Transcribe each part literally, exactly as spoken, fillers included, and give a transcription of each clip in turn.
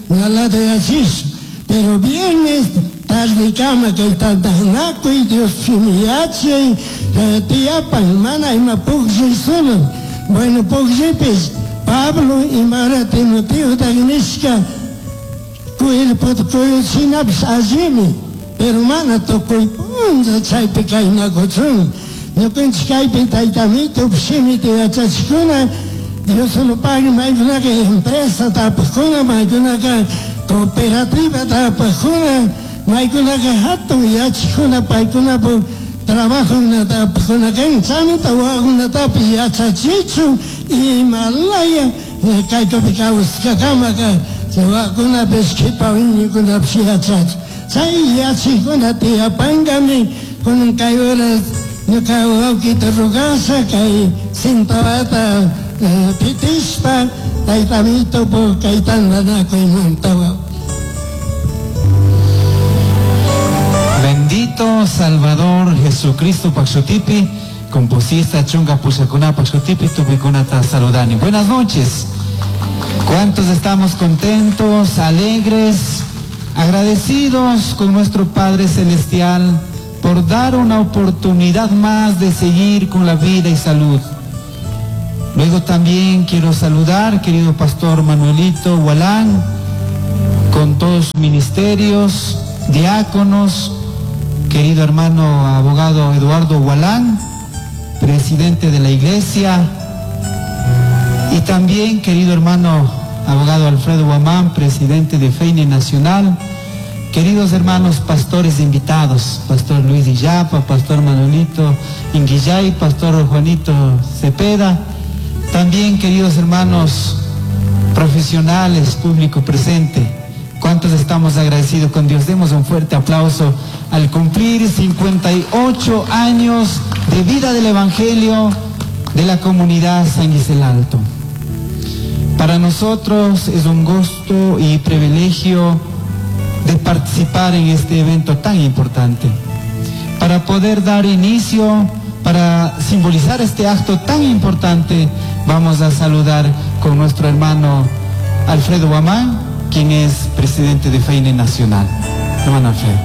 Naladayachis. Pero viernes tardekama kay tantanakuy Dios shimi yachay tiyapan mana ima pukllay solo. Bueno, pukllaypis Pablo imara Timoteo nishka cuerpo kuyuchinapis allimi, pero mana tukuy punlla chaypi kaynakuchun. Ñukanchik kaypi tayta Amito shimita yachachikuna Dios solo pague maykunaka empresa tapaqkuna, maykunaka cooperativa tapaqkuna, maykunaka hatun yachakuna paykunapuk trabajokuna tapaqkuna kan chaymanta wawakunatapis yachachichun imalaya kaykupi kawsashkakamaka chay wawakunapis qhipa wiñaykunapish yachachun. Chay yachakuna tiyapankami kunan kay horas ñuka wawkita rogasha kay cintawata pitishpa tayta Amito kay tantanakuymanta. Bendito Salvador Jesucristo Paxotipi, composista chunga pushakuna Paxotipi, tupikunata saludani. Buenas noches. ¿Cuántos estamos contentos, alegres, agradecidos con nuestro Padre Celestial por dar una oportunidad más de seguir con la vida y salud? Luego también quiero saludar, querido Pastor Manuelito Gualán, con todos sus ministerios, diáconos, querido hermano abogado Eduardo Gualán, presidente de la iglesia, y también querido hermano abogado Alfredo Guamán, presidente de FEINE Nacional, queridos hermanos pastores invitados, Pastor Luis Illapa, Pastor Manuelito Inguillay, Pastor Juanito Cepeda, también queridos hermanos profesionales, público presente, ¿cuántos estamos agradecidos con Dios? Demos un fuerte aplauso al cumplir cincuenta y ocho años de vida del Evangelio de la comunidad San Gisel Alto. Para nosotros es un gusto y privilegio de participar en este evento tan importante, para poder dar inicio, para simbolizar este acto tan importante. Vamos a saludar con nuestro hermano Alfredo Guamán, quien es presidente de FEINE Nacional. Hermano Alfredo.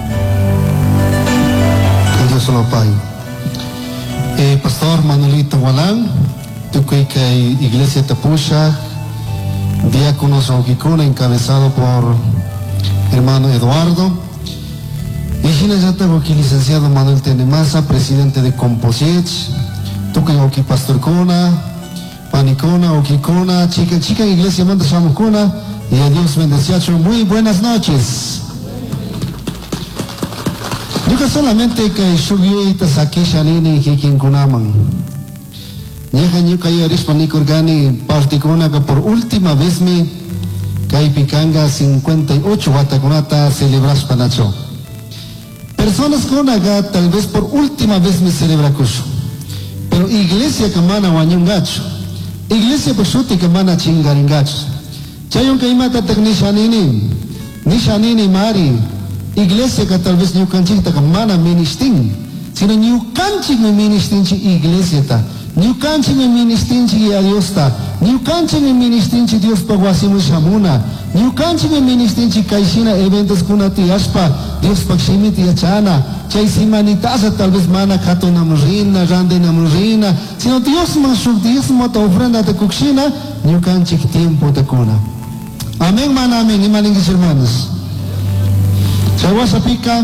Dios lo pague. Eh, Pastor Manuelito Gualán, tukuy kay Iglesia Tapusha, diáconos Oquicuna, encabezado por hermano Eduardo. Y hinallata aquí licenciado Manuel Tenemaza, presidente de Composiech, tukuy oki Pastor Cuna, Panicona, Oquicona, chica, chica iglesia manda Shamucuna, y a Dios bendeciacho. Muy buenas noches. Yo solamente que shugyuita sakisha nini kikinkunaman. Ñaja ñuka yarishpa nikurgani partikuna que por última vez mi kaypikanga cincuenta y ocho watakunata celebrashpa nacho. Personas kunaga tal vez por última vez me celebra kushu. Pero iglesia que mana wañungacho. Iglesia pashuti que mana chingaringacho. Chayunka imata tak nishanini. Nishanini mari. Iglesia que tal vez ñukanchikta que mana ministin. Sino ñukanchik mi ministinchi iglesia ta. Ñukanchik mi ministinchi a Dios ta. Ñukanchik mi ministinchi Dios pa wasimu shamuna. Ñukanchik mi ministinchi kaishina eventos kunati ashpa Dios pa shimiti yachana. Chay simanitaza tal vez mana katunam rina, randenam rina. Sino Dios man shuk Dios mota ofrenda te kukshina, ñukanchik tiempo te kuna. Amén, mana, amén. Imalinguis hermanos. Chahuasapica,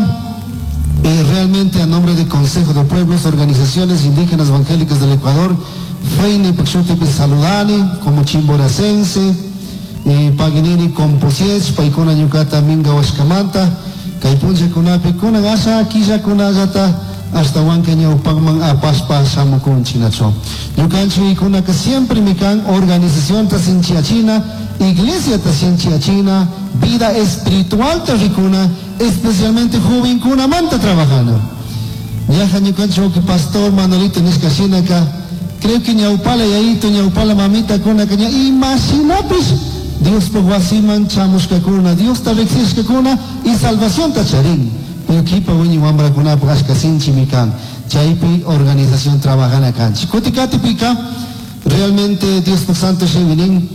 eh, realmente a nombre del Consejo de Pueblos, Organizaciones Indígenas Evangélicas del Ecuador, Feine Pachutipi saludani, como chimboracense, eh, Paginini Composiech, Paikuna Ñucata Minga Huascamanta, Kaipunche Kunapi, Kunan Asa, Quilla Kunayata, hasta Huanca Ñaupagman Apaspa Samukun Chinacho. Ñucanchi y Kunaka siempre mican, organización Tasinchia China, Iglesia Tasinchia China, vida espiritual tarricuna, especialmente joven kuna manta trabajando. Ñaja ñucanchi que pastor Manolito nishka shinaka, creo que ñaupala yaito, ñaupala mamita kuna caña, imaginapis, Dios por wasiman chamushka kuna, Dios ta riksishka kuna y salvación ta charin. Pero kipa wiñi wambra kuna ashka sinchi mikan. Chaypi organización trabajana kanchi. Kutikati pika, realmente Dios por santo shiminin,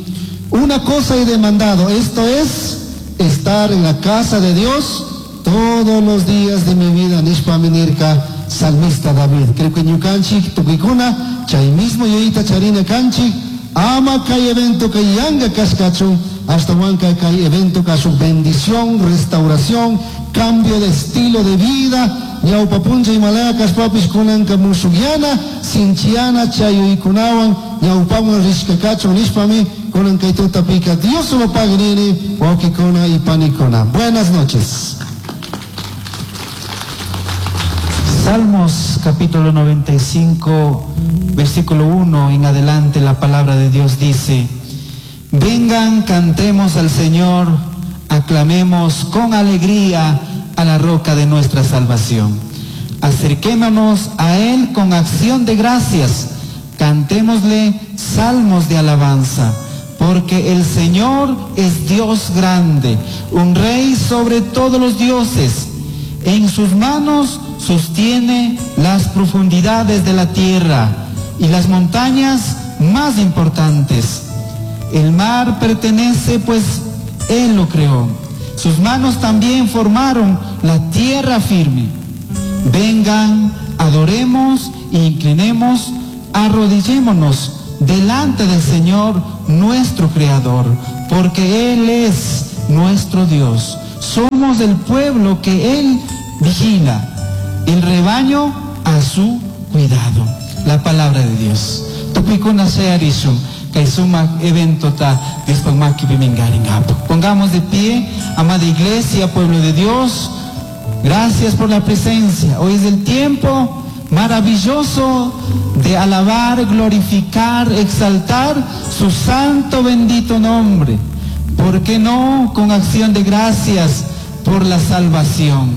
Una cosa he demandado, esto es estar en la casa de Dios todos los días de mi vida. Nishpami nirca salmista David. Creo que ñukanchik tukuykuna chay mismo yuyayta charina kanchik ama kay evento kay yanga kashkachun ashtawanka kay evento kashun bendición, restauración, cambio de estilo de vida. Ñawpa puncha imalaya kashpapish kunanka mushukyana, sinchiyana chayuykunawan ñawpaman rishka kachun nishpami kunan kay tutapika Dios lo pague nini wawkikuna y panikuna. Buenas noches. Salmos capítulo noventa y cinco, versículo uno en adelante, la palabra de Dios dice: Vengan, cantemos al Señor, aclamemos con alegría a la roca de nuestra salvación. Acerquémonos a Él con acción de gracias, cantémosle salmos de alabanza, porque el Señor es Dios grande, un rey sobre todos los dioses. En sus manos sostiene las profundidades de la tierra y las montañas más importantes. El mar pertenece, pues Él lo creó. Sus manos también formaron la tierra firme. Vengan, adoremos e inclinemos, arrodillémonos delante del Señor nuestro Creador, porque Él es nuestro Dios. Somos el pueblo que Él vigila, el rebaño a su cuidado. La palabra de Dios. Tupikuna shayarishun, kay sumak evento ta Diospakmaki pimingaringapo. Pongamos de pie, amada iglesia, pueblo de Dios. Gracias por la presencia. Hoy es el tiempo maravilloso de alabar, glorificar, exaltar su santo bendito nombre. ¿Por qué no con acción de gracias por la salvación?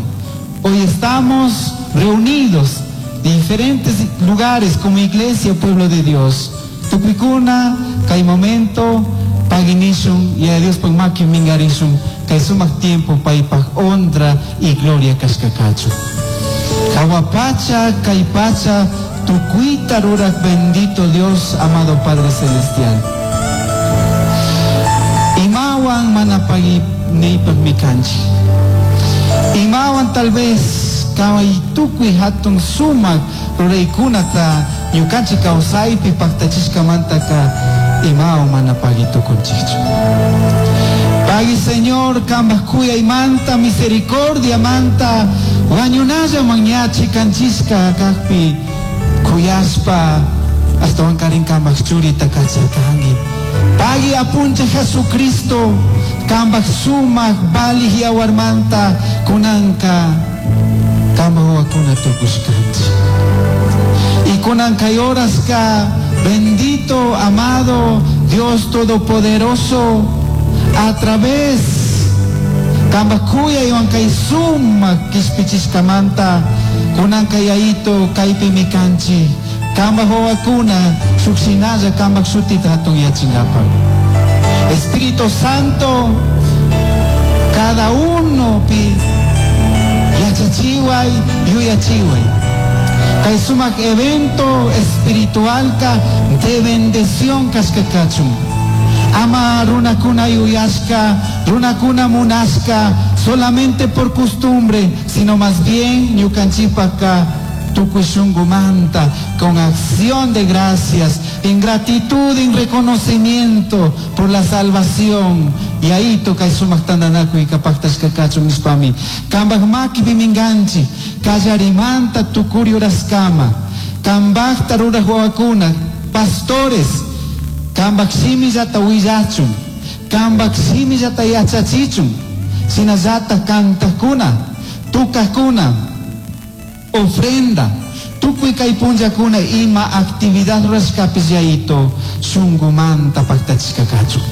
Hoy estamos reunidos de diferentes lugares como iglesia, pueblo de Dios. Tupikuna, kay momento, paginishun, y a Dios pagmaki mingarishun, kay sumak tiempo paypaj honra y gloria kashkakachu. Kawapacha, kay pacha, tukuita rurak bendito Dios, amado Padre Celestial. Imawan manapagi neipag mikanchi. Imawan tal vez kaway tukuy hatun sumak ruraykunata ñukanchik kawsaypi paktachishkamantaka imawan manapagi tukunchikchu. Pagui Señor, kambaj kuyaymanta, misericordia manta, wañunalla mañachi kanchishka kajpi kuyashpa astawan karin kambaj churita kacharkanki. Pagui apuncha Jesucristo, kambaj sumak balij yawarmanta kunanka kambaj wawakuna tukushkanchik. Y kunanka kay horaska, bendito, amado Dios Todopoderoso, a través kambaj kuyaywan kay sumak kishpichishkamanta kunanka yayito kaypi mikanchik. Kambaj wawakuna shukshinalla kambaj shutita hatun yachinkapak. Espíritu Santo, cada uno pi yachachiway, yuyachiway. Kay sumak evento espiritualka de bendición kashkakachun. Ama runakuna yuyashka, runakuna munashka, solamente por costumbre, sino más bien ñukanchipaka tukuy shungumanta, con acción de gracias, en gratitud, en reconocimiento por la salvación. Y ahí toca sumak tandanakuy kapaktash kakachun nishpami. Kambaj maki biminganchi, kallarimanta tukuri uraskama, kambajta ruraj wawakuna, pastores, kambaj shimillata willachun, kambaj shimillata yachachichun, shinallata kantajkuna, tukajkuna, ofrenda, tukuy kay punllakuna ima actividad rurashkapis yayito shungumanta paktachishkakachun.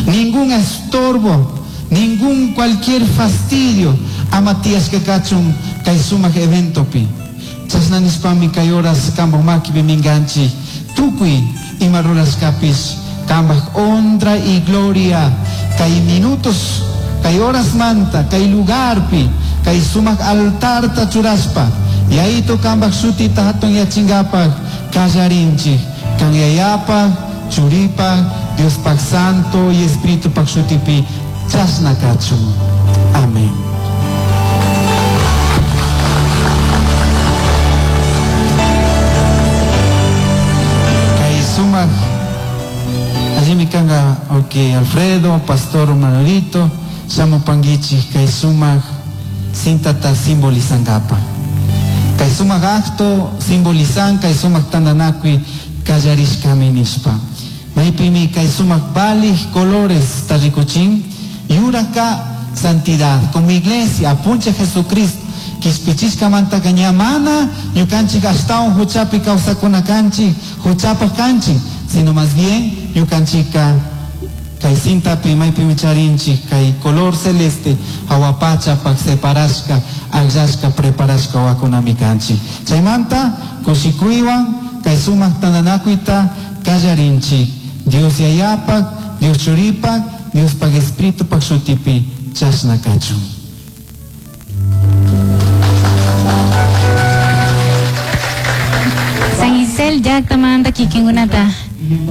Ningún estorbo, ningún cualquier fastidio ama tiyashkakachun kay sumak eventopi. Chashna nishpami kay horas kambaj makipi minganchik, tukuy ima rurashkapis kambaj honra y gloria kay minutos, kay horas manta, kay lugarpi, kay sumak altarta churashpa, yayito kambaj shutita hatun yachinkapak kallarinchik, kan yayapaj, churipaj, Dios pak Santo y Espíritu pak shutipi chashna kachun. Amén. Kay sumak allimi kanga ok Alfredo, Pastor Manuelito, shamupankichik kay sumak sintata simbolizangapa. Kay sumak acto simbolizan kay sumak tandanakuy kallarishkami nishpa. Maypimi kay sumak balij colores tarikuchin yuraka santidad como iglesia apuncha Jesucristo kishpichishkamanta ñamana ñukanchik ashtawan huchapi kawsakuna kanchik huchapaj kanchik, sino más bien ñukanchika kay cintapi maypimi charinchik kay color celeste hawapachapak separashka akllashka preparashka wakunami kanchik. Chaymanta kushikuywan kay sumak tandanakuyta kallarinchik Dios yayapak, Dios churipak, Diospak Espiritupak shutipi chashna kachun. San Isel llaktamanta kikinkunata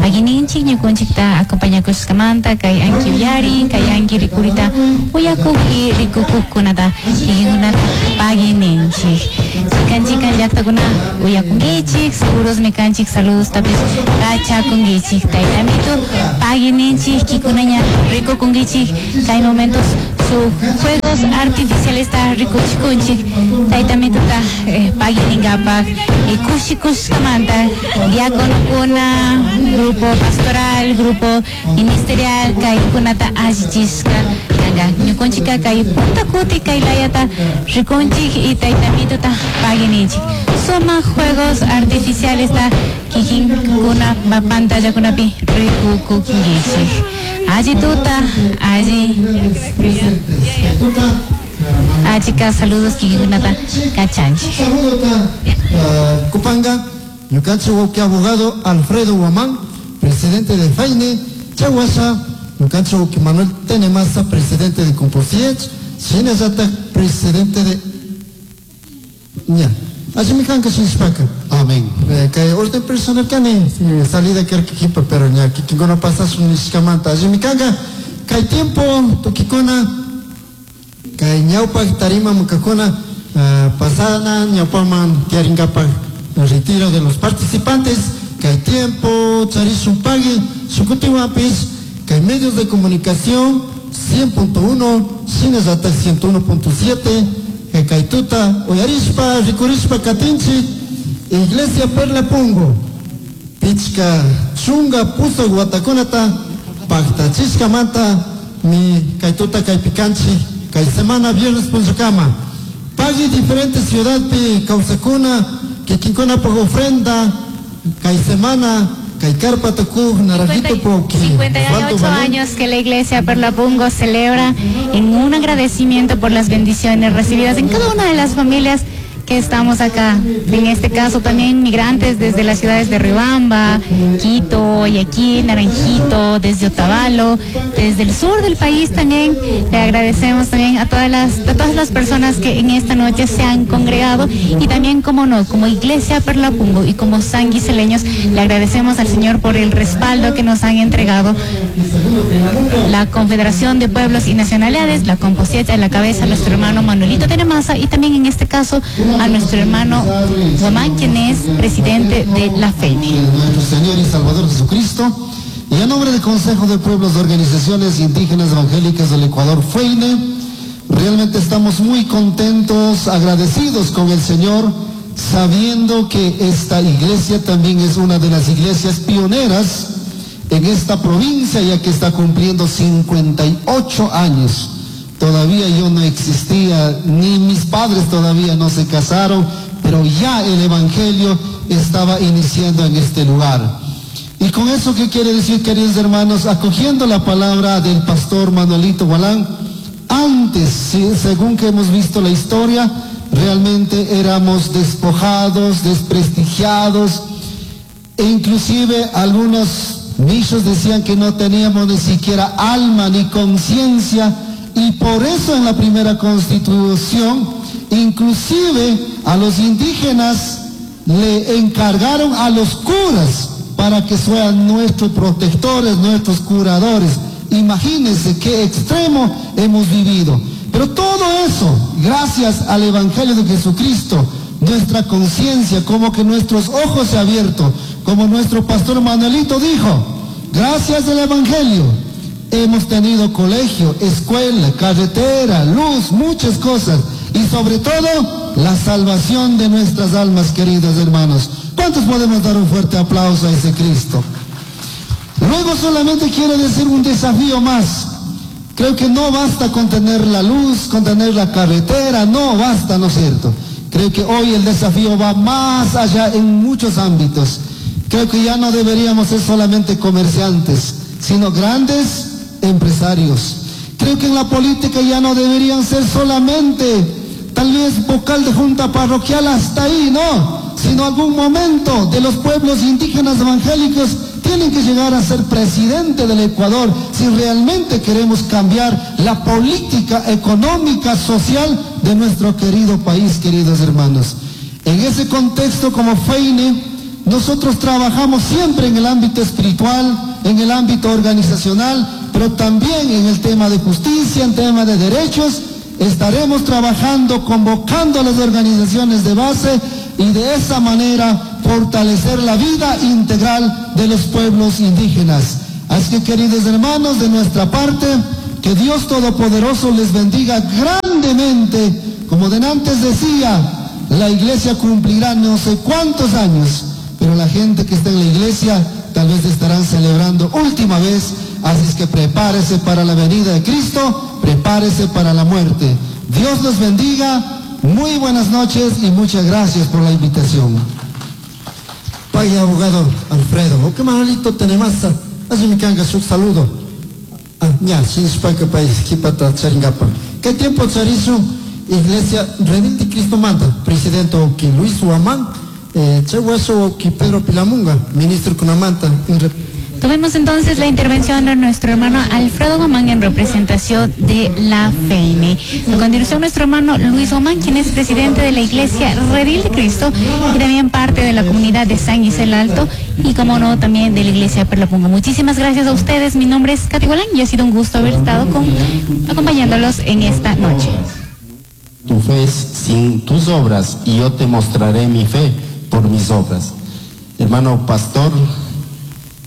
pagininchik ñukunchikta acompañakushkamanta kay anki uyari kay anki rikurita uyakuq y rikukuqkunata kikinkunata pagininchik. Chikan chikan llaktakuna uyakunkichik, seguros kanchik, saludos tapis kachakunkichik. Taytamitu pagininchik kikunaña rikukunkichik kay momentos su juegos artificiales ta rikuchikunchik. Taytamituta eh, paginingapak y kushikushkamanta diakonokuna grupo pastoral, grupo ministerial, kaykunata allichishka kanga. Ñukunchika kay punta kuti kay layata rikunchik y taytamituta pagininchik. Suma juegos artificiales ta kikinkuna pantallakunapi rikukunkichik. Alli tuta, alli achika saludos kikinkunata kachanchik. Saludos Kupanga, ñukanchik wawqi abogado Alfredo Guamán, presidente de FAINE, Chahuasha, ñukanchik wawqi Manuel Tenemasa, presidente de Composiech, shinallata presidente de ña. Allimi kanka shinishpaka. Amén. Kay orden personal kani, salida kerkikipa, pero ña kikinkuna pasashun nishkamanta. Allimi kanka, kay tiempo tukikuna, kay ñawpak tarima mukakuna, uh, pasana ñawpaman tiarinkapak retiro de los participantes, kay tiempo charishun pagui, shukutiwanpis, kay medios de comunicación cien punto uno, shinallata ciento uno punto siete, kay tuta, uyarishpa, rikurishpa katinchik, Iglesia Perla Pungo, pichka chunga puso guatakunata, pactachishkamanta, mi kay tuta kay pikanchi, kay semana viernes punchakama. Pagui diferentes ciudad pi kawsakuna, kikinkuna por ofrenda, kay semana, kay carpa tukuj, naranjito poki. cincuenta y ocho años que la Iglesia Perla Pungo celebra en un agradecimiento por las bendiciones recibidas en cada una de las familias que estamos acá, en este caso también migrantes desde las ciudades de Riobamba, Quito, Guayaquil, Naranjito, desde Otavalo, desde el sur del país también. Le agradecemos también a todas las, a todas las personas que en esta noche se han congregado y también, como no, como Iglesia Perla Pungo y como sanguiseleños, le agradecemos al Señor por el respaldo que nos han entregado la Confederación de Pueblos y Nacionalidades, la Composieta, en la cabeza nuestro hermano Manuelito Tenemasa y también en este caso a nuestro hermano Guamán, quien es presidente de la FENE. Nuestro Señor y Salvador Jesucristo, y a nombre del Consejo de Pueblos de Organizaciones Indígenas Evangélicas del Ecuador, FEINE, realmente estamos muy contentos, agradecidos con el Señor, sabiendo que esta iglesia también es una de las iglesias pioneras en esta provincia, ya que está cumpliendo cincuenta y ocho años. Todavía yo no existía, ni mis padres todavía no se casaron, pero ya el Evangelio estaba iniciando en este lugar. Y con eso, ¿qué quiere decir, queridos hermanos? Acogiendo la palabra del pastor Manuelito Gualán, antes, sí, según que hemos visto la historia, realmente éramos despojados, desprestigiados, e inclusive algunos nichos decían que no teníamos ni siquiera alma ni conciencia, y por eso en la primera constitución, inclusive a los indígenas le encargaron a los curas para que sean nuestros protectores, nuestros curadores. Imagínense qué extremo hemos vivido. Pero todo eso, gracias al Evangelio de Jesucristo, nuestra conciencia, como que nuestros ojos se han abierto, como nuestro pastor Manuelito dijo, gracias al Evangelio, hemos tenido colegio, escuela, carretera, luz, muchas cosas, y sobre todo, la salvación de nuestras almas, queridos hermanos. ¿Cuántos podemos dar un fuerte aplauso a ese Cristo? Luego solamente quiero decir un desafío más. Creo que no basta con tener la luz, con tener la carretera, no basta, ¿no es cierto? Creo que hoy el desafío va más allá en muchos ámbitos. Creo que ya no deberíamos ser solamente comerciantes, sino grandes empresarios. Creo que en la política ya no deberían ser solamente tal vez vocal de junta parroquial hasta ahí, no, sino algún momento de los pueblos indígenas evangélicos tienen que llegar a ser presidente del Ecuador si realmente queremos cambiar la política económica, social de nuestro querido país, queridos hermanos. En ese contexto, como FEINE, nosotros trabajamos siempre en el ámbito espiritual, en el ámbito organizacional, pero también en el tema de justicia, en tema de derechos. Estaremos trabajando, convocando a las organizaciones de base y de esa manera fortalecer la vida integral de los pueblos indígenas. Así que, queridos hermanos, de nuestra parte, que Dios Todopoderoso les bendiga grandemente. Como de antes decía, la iglesia cumplirá no sé cuántos años, pero la gente que está en la iglesia tal vez estarán celebrando última vez. Así es que prepárese para la venida de Cristo, prepárese para la muerte. Dios los bendiga. Muy buenas noches y muchas gracias por la invitación. Pay abogado Alfredo, o que Manuelito tenemos, así me canga su saludo. Ah, ya, sin que país, kipata charingapa. ¿Qué tiempo charizo? Iglesia Redil de Cristo manda, presidente Oki Luis Huamán, eh, Chehueso Oki Pedro Pilamunga, ministro Cunamanta. Tomemos entonces la intervención de nuestro hermano Alfredo Gomán en representación de la FEINE. A continuación, nuestro hermano Luis Gomán, quien es presidente de la Iglesia Redil de Cristo y también parte de la comunidad de San Gisel Alto y, como no, también de la Iglesia Perlapungo. Muchísimas gracias a ustedes. Mi nombre es Katy Gualán y ha sido un gusto haber estado con, acompañándolos en esta noche. Tu fe es sin tus obras y yo te mostraré mi fe por mis obras. Hermano pastor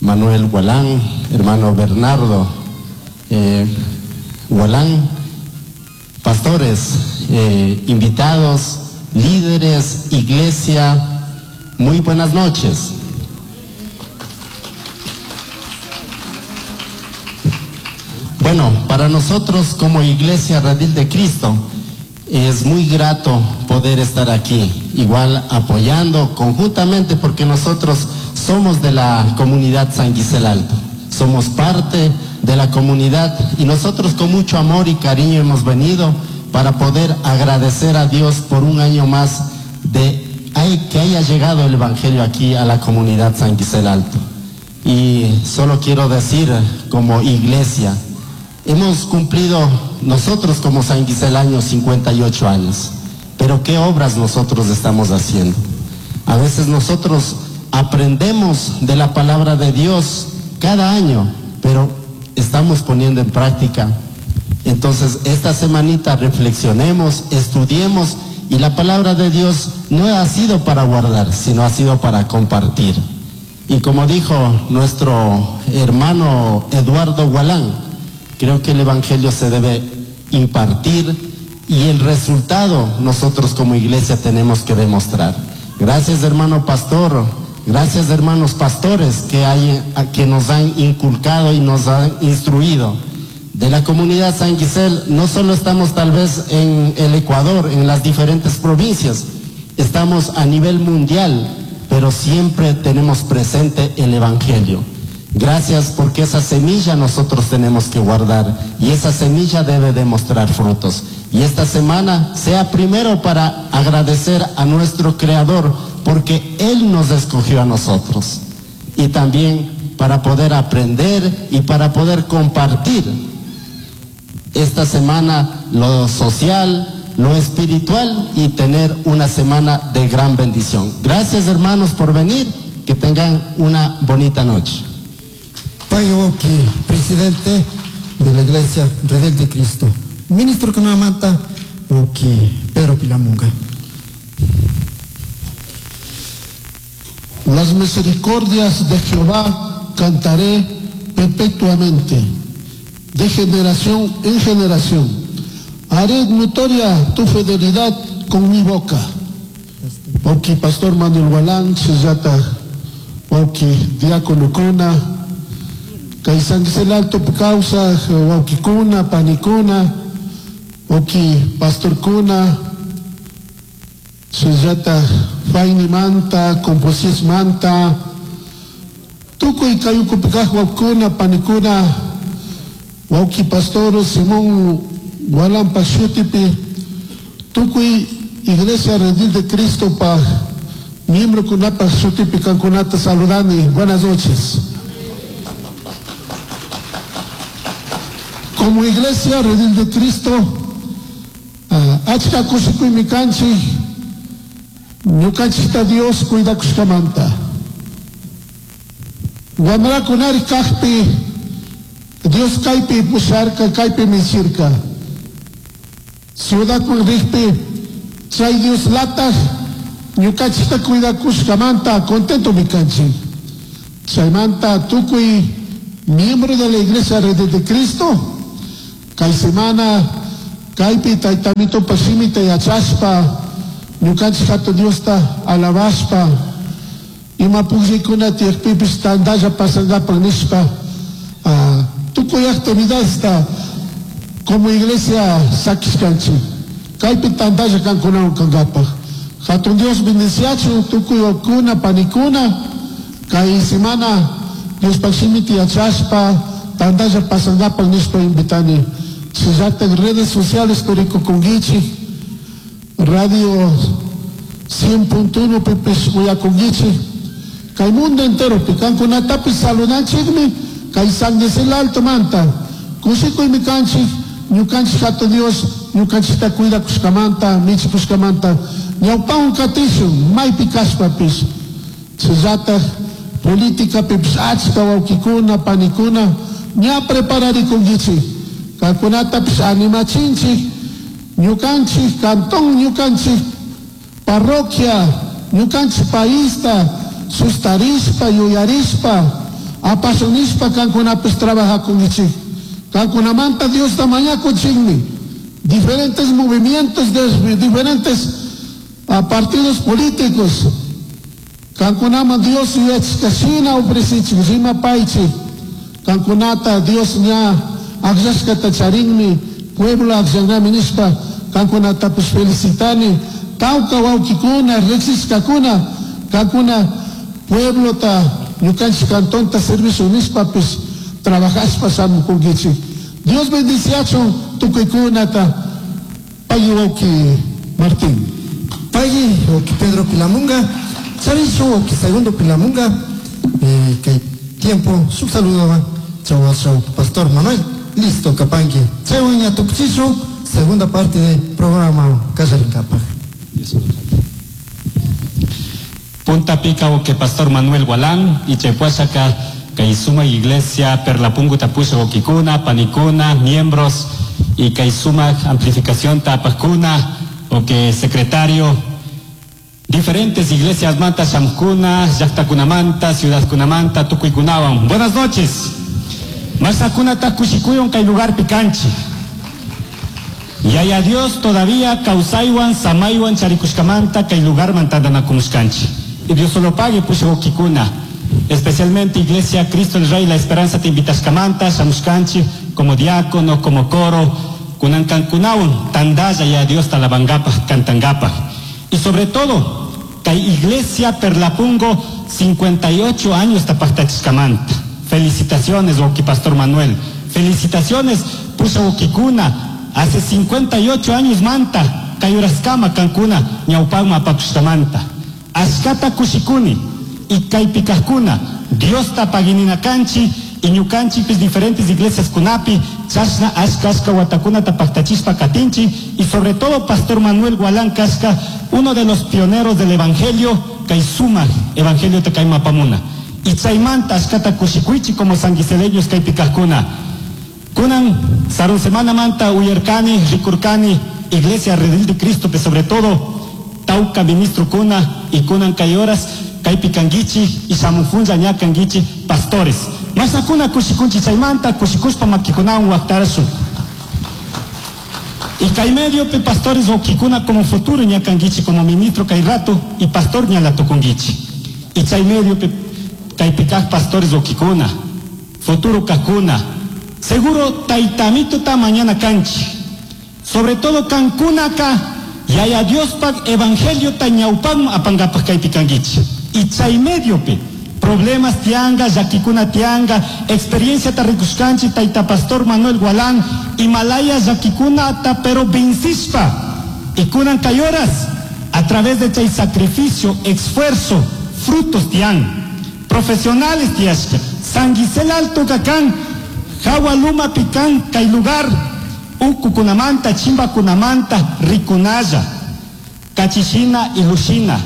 Manuel Gualán, hermano Bernardo eh, Gualán, pastores, eh, invitados, líderes, iglesia, muy buenas noches. Bueno, para nosotros como Iglesia Redil de Cristo es muy grato poder estar aquí, igual apoyando conjuntamente, porque nosotros somos de la comunidad San Gisel Alto, somos parte de la comunidad y nosotros con mucho amor y cariño hemos venido para poder agradecer a Dios por un año más de que haya llegado el Evangelio aquí a la comunidad San Gisel Alto. Y solo quiero decir, como iglesia, hemos cumplido nosotros como San Giselaños cincuenta y ocho años, pero ¿qué obras nosotros estamos haciendo? A veces nosotros aprendemos de la palabra de Dios cada año, pero estamos poniendo en práctica. Entonces, esta semanita reflexionemos, estudiemos, y la palabra de Dios no ha sido para guardar, sino ha sido para compartir. Y como dijo nuestro hermano Eduardo Gualán, creo que el Evangelio se debe impartir y el resultado nosotros como iglesia tenemos que demostrar. Gracias, hermano pastor, gracias, hermanos pastores que, hay, que nos han inculcado y nos han instruido. De la comunidad San Gisel, no solo estamos tal vez en el Ecuador, en las diferentes provincias, estamos a nivel mundial, pero siempre tenemos presente el Evangelio. Gracias, porque esa semilla nosotros tenemos que guardar y esa semilla debe demostrar frutos. Y esta semana sea primero para agradecer a nuestro Creador, porque Él nos escogió a nosotros. Y también para poder aprender y para poder compartir esta semana lo social, lo espiritual y tener una semana de gran bendición. Gracias, hermanos, por venir Que tengan una bonita noche. Pagui presidente de la Iglesia Redil de Cristo. Ministro kunamanta, wawki Pedro Pilamunga. Las misericordias de Jehová cantaré perpetuamente, de generación en generación. Haré notoria tu fidelidad con mi boca. Wawki Pastor Manuel Gualán, Chillata, wawki Diácono Kuna, kay San Gisel Alto causa, wawki Kuna, Panikuna, wawki Pastor Kuna, Chillata, Faini Manta, Composis Manta, tukuy kayukupikaj wawkuna, panikuna, wawki Pastor Simón Gualán Pashutipi, tukuy Iglesia Redil de Cristo pa miembro kunapa shutipi kankunata saludani. Buenas noches. Como Iglesia Redil de Cristo, uh, achka kushikuymi kanchik, ñukanchikta Dios cuidakushkamanta. Wamrakunari kajpi, Dios kaypi pusharka, kaypi michirka. Ciudadman rikpi, chay Dios lataj, ñukanchikta cuidakushkamanta, contento mi kanchik. Chaymanta tukuy miembro de la Iglesia Redil de Cristo, kay semana, kaypi taytamito pashimita yachashpa, ñukanchik hatun Diosta alabashpa, ima pukllaykuna tiyakpipis tantalla pasankapak nishpa, uh, tukuy actividadesta como iglesia sakishkanchik. Kaypi tantalla kankunawan kankapaj. Hatun Dios bendiciachun tukuy wawkuna panikuna, kay semana Diospaj shimita yachashpa, tantalla pasankapak nishpa invitani. Chillata redes sociales kurikukunkichik, radio cien punto uno pipis uyakunkichik, kay mundo entero pi kankunatapis saludanchikmi, kay San Gisel Alto manta, kushikuymi kanchik, ñukanchik hatun Dios, ñukanchikta cuidakushkamanta, michikushkamanta, ñawpawan katishun, maypi kashpapis. Chillata política pipis achka wawkikuna, panikuna, ña prepararikunkichik, kankunatapis animachinchik, ñukanchik cantón, ñukanchik parroquia, ñukanchik paista, sustarishpa, yuyarishpa, apasionishpa kankunapis trabajakunkichik. Kankunamanta Diosta mañakuchikmi. Diferentes movimientos, de, diferentes uh, partidos políticos. Kankunaman Dios yuyachikashina ofrecichik, rimapaychik. Kankunata Dios ña akllashkata charinmi, pueblo akllangami nishpa, kankunatapis felicitani. Tawka wawkikuna, riqsishkakuna, kankuna pueblota, ñukanchik cantonta servicio nishpapis trabajashpa shamukunkichik. Dios bendiciachun tukuykunata. Pagui wawki Martín. Pagui wawki Pedro Pilamunga, charishu wawki Segundo Pilamunga, eh, kay tiempo shuk saludo chaw chaw Pastor Manuel. Listo kapanki. Chaywan ña tukuchishu segunda parte del programa Kallarinkapaj. Punta Pica que Pastor Manuel Gualán y Chepuachaca Kaisuma Iglesia Perlapungu Tapusha Okikuna, Panicuna, miembros y Kaisuma Amplificación Tapacuna, o que secretario, diferentes iglesias Manta Shamkuna, Yactacunamanta, Ciudad Cunamanta, Tucuicunawan. Buenas noches. Masakuna Takushikuyon kay lugar picanchi. Yaya Dios todavía causaiwan, samaiwan, charikushkamanta, kay lugar mantandanakumuskanchi. Y Dios solo pague pushokikuna. Especialmente Iglesia Cristo el Rey, la Esperanza te invitashkamanta, shamushkanchi, como diácono, como coro, kunankankunawan, tandaya ya Dios talabangapa, cantangapa. Y sobre todo, kay Iglesia Perlapungo, cincuenta y ocho años tapactachishkamanta. Felicitaciones, Wauki Pastor Manuel. Felicitaciones, Pushawokikuna. Hace cincuenta y ocho años manta, kayuraskama kankuna, ñawpagma pakushkamanta. Ashkata kushikuni, y kaypikajkuna, Dios tapaginina kanchi, y ñukanchipis diferentes iglesias kunapi, chashna ashka ashka watakunata paktachishpa katinchi y sobre todo Pastor Manuel Gualán kashka, uno de los pioneros del evangelio, kay sumak evangelio ta kay mapamuna. Y chaymanta ashkata kushikuychi como sanguiseleños kaypi kajkuna. Kunan sarun semana manta uyarkani, rikurkani, Iglesia Redil de Cristo, pero sobre todo tauka ministro kuna y kunan kay horas kaypi kanguichi y shamufunlla ña kanguichi pastores. Masakuna kushikunchi chaymanta kushikushpa makikunawan waqtarashun. Y kay medio pe pastores okikuna como futuro ña kanguichi como ministro kay rato y pastor ña la tukunguichi. Y chay medio pe kaypi kaq pastores okikuna, futuro kakuna, seguro taytamito ta mañana kanchi. Sobre todo kankunaka yaya Diospak evangelio ta ñawpakman apangapak kaypi kanguichi. Y chay medio pe problemas tianga, llakikuna tianga, experiencia ta rikushkanchi tayta pastor Manuel Gualán, Himalaya llakikuna ta pero vencishpa. Y kunan kay horas, a través de chay sacrificio, esfuerzo, frutos tian, profesionales tiashka, Sanguisel Alto kakan, Jawa Luma pikan kay lugar, uku kunamanta, chimba kunamanta, rikunaya, kachishina y lushina.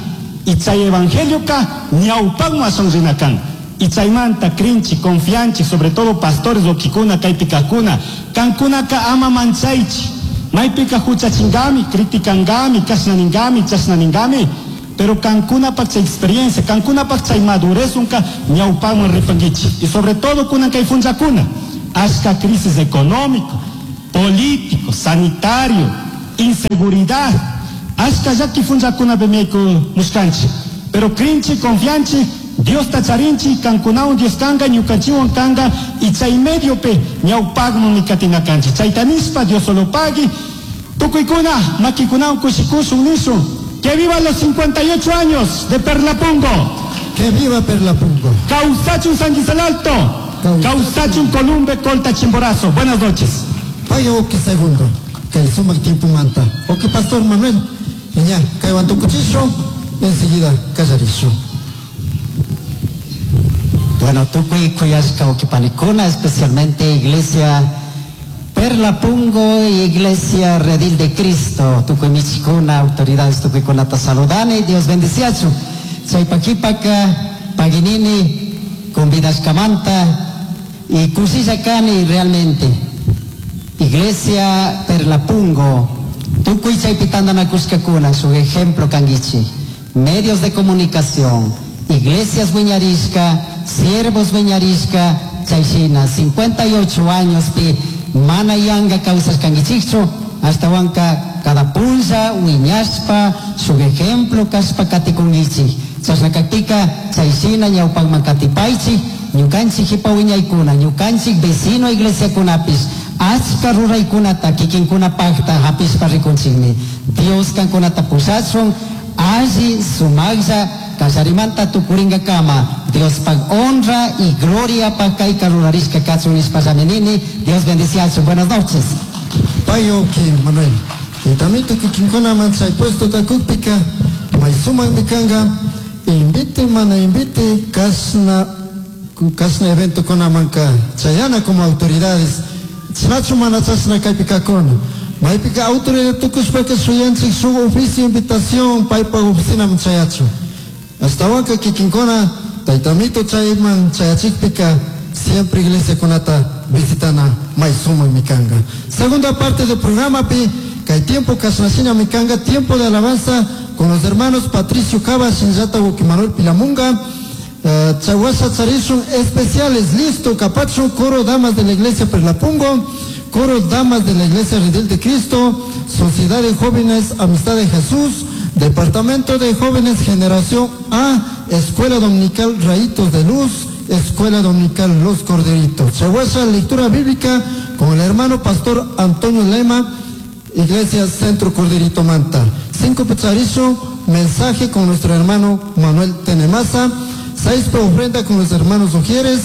Y chay evangelio ka ñawpakman ashwan rinakan. Y chaymanta krinchi, confianchi, sobre todo pastores okikuna, kaypikakuna, kankunaka ama manchaychi, maypika huchachingami, criticangami, kashnaningami, chashnaningami, pero kankunapak chay experiencia, kankunapak chay madurez unka ñawpakman ripanguichi. Y sobre todo kunan kay funchakuna, ashka crisis económico, político, sanitario, inseguridad, ashka llaki funchakuna bemiayku mushkanchi. Pero krinchi, confianchi, Dios tacharinchi, kankunawan Dios kanga, ñukanchiwan kanga, y chay medio pe ñawpakman mikatinakanchi. Chaytanispa Dios solo pagui, tukuykuna, makikunawan kushikushun nishun. Que viva los cincuenta y ocho años de Perlapungo. Que viva Perlapungo. Causachun Sanguisel Alto. Causachun Columbe Colta Chimborazo. Buenas noches. Vaya oki segundo, que el suma tiempo manta. Oki Pastor Manuel, ya, kaywan tukuchisho, enseguida kallarisho. Bueno, tukuy kuyashka okipanikuna, especialmente Iglesia Perlapungo y Iglesia Redil de Cristo, tukuy michikuna, autoridades tukuy kunata saludani, Dios bendiciachu. Chaypakipaka, paginini, convidashkamanta y kushishakani realmente. Iglesia Perlapungo, tukuy chaypitandanakushkakuna, su ejemplo kanguichi. Medios de comunicación, iglesias wiñarishka, siervos wiñarishka, chayshina, cincuenta y ocho años pi mana yanga causas kanguichichu, hasta wanka cada punza wiñashpa, su ejemplo kaspa katikungichi. Chashnakaktika, chayshina ñawpakman katipaychi, ñukanchik hipa wiñaykuna, ñukanchik vecino iglesia kunapis, achka ruraykunata kikinkunapaqta hapishpa rikunchikmi. Dios kankunata pushachun, alli sumaqlla kallarimanta tukuringakama. Diospaq honra y gloria pa kayka rurarishka kachun nishpa llaminini. Dios bendiciachun. Buenas noches. Payo ki Manuel. Y también tukikinkunaman chay puesto takukpika, may sumaq mikanga, invite mana invite kasna, kasna evento kunamanka chayana como autoridades. Chinachu mana chasna kaypikakuna. Maypika autoridad tukushpaka shuyanchik shuk oficio invitación paypa oficinaman chayachu. Hasta wanka kikinkuna taytamito chayman chayachikpika siempre iglesia kunata visitana may sumaq mikanga. Segunda parte del programa pi kay tiempo kashnashina mikanga, tiempo de alabanza con los hermanos Patricio Cava, Shinjata Manuel Pilamunga, uh, Chahuasha Charishun especiales, listo, Capacho, coro damas de la iglesia Perlapungo, coro damas de la iglesia Redil de Cristo, Sociedad de Jóvenes Amistad de Jesús, Departamento de Jóvenes Generación A, Escuela Dominical Rayitos de Luz, Escuela Dominical Los Corderitos. Chahuasha, lectura bíblica con el hermano pastor Antonio Lema, Iglesia Centro Corderito Manta. Cinco Pecharizo, mensaje con nuestro hermano Manuel Tenemaza. Seis ofrenda con los hermanos Ujieres.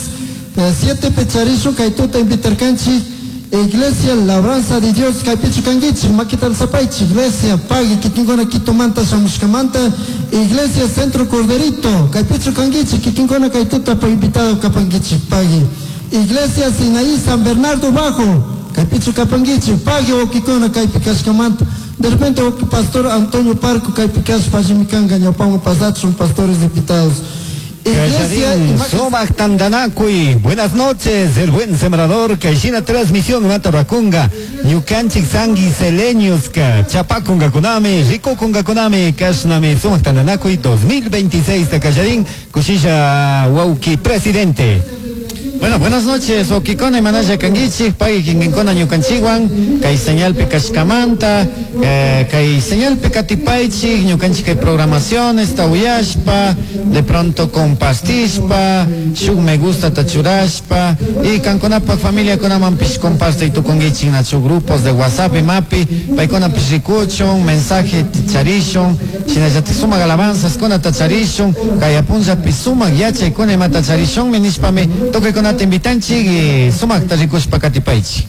Eh, siete Pecharizo, Kaituta Invitercanchi, Iglesia Labranza de Dios, Kaipichu Kanguichi, Maquital Zapaichi, Iglesia Pagui, Kitingona Quitomanta, Shamushkamanta, Iglesia Centro Corderito, Kaipichu Kanguichi, Kitingona Kaituta, pa invitado Kapanguichi, Pagui. Iglesia Sinaí San Bernardo Bajo, Kaypichu kapankichik, pagui wawkikuna kaypi kashkamanta. De repente wawki pastor Antonio Parco kaypi kashpa allimi kanka ñawpaman pasachun pastores invitados. Iglesia Sumak Tandanakuy. Buenas noches, el buen sembrador. Kayshina transmisión mata rakunga. Ñukanchik sanguiseleños ka. Chapakunga kunami, rikukunga kunami, kashnami Sumak Tandanakuy dos mil veintiséis Takayarín. Kushisha wawki presidente. Bueno, buenas noches, Okikona y Manaya Kangichi, Pagui Kinginkona Ñukanchiwan, Kay señalpi Kashkamanta, eh, Kay señalpi Katipaichi, Ñukanchi kay programaciones, Tawiyashpa, de pronto compartishpa, Shuk me gusta tachurashpa, y Kankonapa familia konamampish comparte y tukungichi nachu grupos de WhatsApp y Mapi, Paikona pishikuchun, mensaje ticharishun, Shinallati sumak alabanzas kona tacharishun, Kayapunja pisumak yachay kona ima tacharishun, minishpami, toque kona te invitanchi y sumak tarikushpa katipaichi.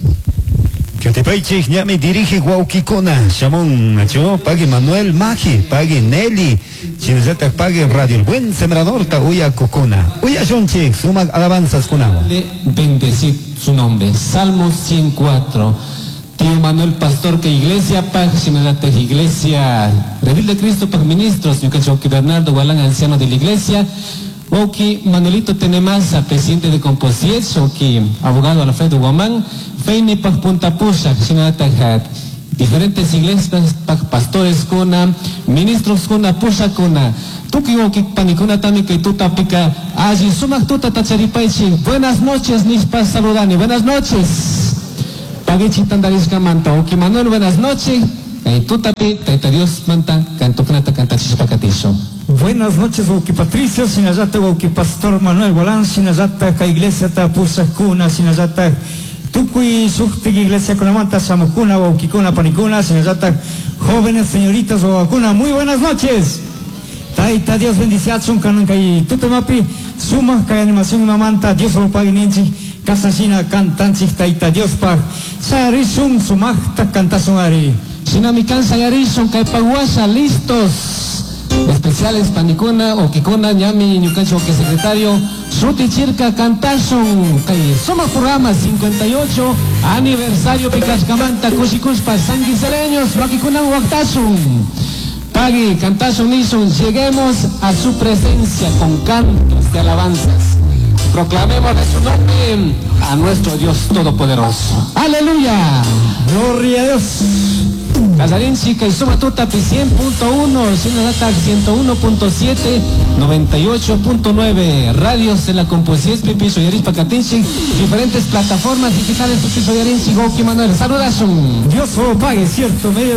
Katipaichi, ñami dirige Guauquicona, Shamón, Nacho, pague Manuel Maji, pague Nelly, Chinazata, pague Radio El Buen Sembrador, ta uya Cocona. Uya Shonchi, sumak alabanzas kunao. De bendecir su nombre. Salmo ciento cuatro. Tío Manuel Pastor, que Iglesia Paj, Shinazata, Iglesia Redil de Cristo, Paj Ministros, Ñucachoqui Bernardo Gualán, anciano de la Iglesia. Oki Manuelito Tenemasa, presidente de Composiet, Oki abogado Alfredo Guamán, Feini Paj Punta Pusha, Shinata Hat, diferentes iglesias, paj pastores kuna, ministros kuna, pusha kuna, tuki oki panikuna tami que tuta pica, allí sumak tuta tacharipaichi, buenas noches, nispa saludani, buenas noches. Pagichi tandarishka manta, Oki Manuel, buenas noches, tutapi, taita Dios manta, cantukunata cantachishpakatisho. Buenas noches, Wauki Patricio, Sinayata, Wauki Pastor Manuel Gualán, Sinayata, ka iglesia ta pusakuna, Sinayata, tukuy suktik iglesia kunamanta, samukuna, Waukikuna, panikuna, Sinayata, jóvenes, señoritas, wawakuna, muy buenas noches. Taita Dios bendiciachun, kanan kay tutamapi, suma kay animación mamanta, Dios lo pague ninchi, kasashina cantanchik, taita Dios pa, sayarishun, sumajta cantasun ari. Sinamikan sayarishun, kay paguasha, listos. Especiales panikuna, okikuna, ñami, ñukanchi, oki secretario, Shuti Chirca, Cantasun, kay Suma programa cincuenta y ocho, aniversario Picascamanta, Kushikushpa, Sanguiseleños, Wakikunan, Waktasun. Pagui, Cantasun, Nison, lleguemos a su presencia con cantos de alabanzas. Proclamemos de su nombre a nuestro Dios Todopoderoso. ¡Aleluya! ¡Gloria a Dios! Casarín Chica y Suma Tuta, cien punto uno, Sinadata ciento uno punto siete, noventa y ocho punto nueve, radios de la Composición, Pipi, Soyaris, Pacatinchi, diferentes plataformas digitales, Pipi, Soyaris, Goki, Manuel, saludasun. Dios lo pague, cierto, medio